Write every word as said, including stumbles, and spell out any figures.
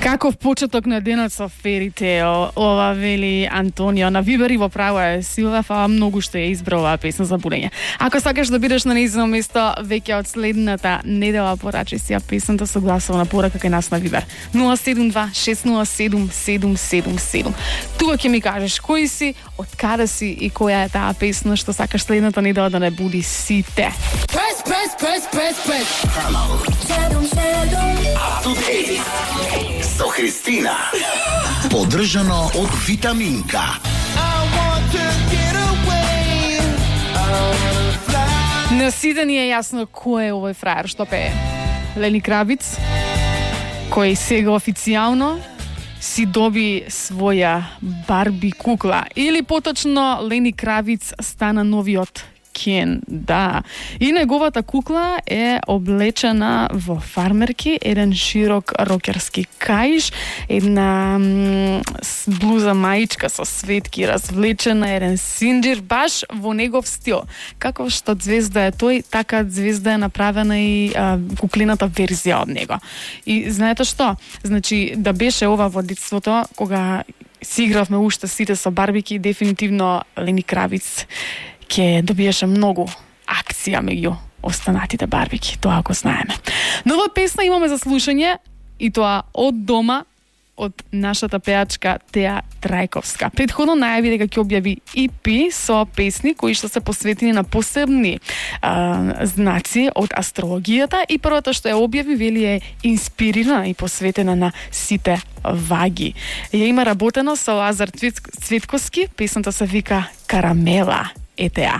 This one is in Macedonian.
Каков почеток на денот со Fairy Tale, ова вели Антонио. На Вибер и во право е Силва, фала многу што ја избра оваа песна за будење. Ако сакаш да бидеш на нејзино место веќе од следната недела, порачи си ја песната со гласовна порака кај нас на Вибер. нула седум два шест нула седум седум седум седум. Тука ќе ми кажеш кој си, од каде си и која е таа песна што сакаш следната недела да не буди сите. Press, press, press, press, press. Up to date со Христина. Поддржано од Витаминка. На сите ни е јасно кој е овој фраер што пее. Лени Кравиц, кој сега официјално си доби своја Барби кукла. Или поточно Лени Кравиц стана новиот Кен, да. И неговата кукла е облечена во фармерки, еден широк рокерски каиш, една м, блуза маичка со светки развлечена, еден синџир баш во негов стил. Како што звезда е тој, така звезда е направена и а, куклината верзија од него. И знаете што? Значи, да беше ова во детството, кога си игравме уште сите со барбики, дефинитивно Лени Кравиц ќе добиеше многу акција меѓу останатите барбики, тоа ако знаеме. Нова песна имаме за слушање и тоа од дома, од нашата пеачка Теа Трајковска. Предходно најави дека ќе објави и пи со песни кои што се посветени на посебни а, знаци од астрологијата и првата што ја објави вели е инспирирана и посветена на сите ваги. Ја има работено со Лазар Цветковски, песната се вика Карамела. Ете ја.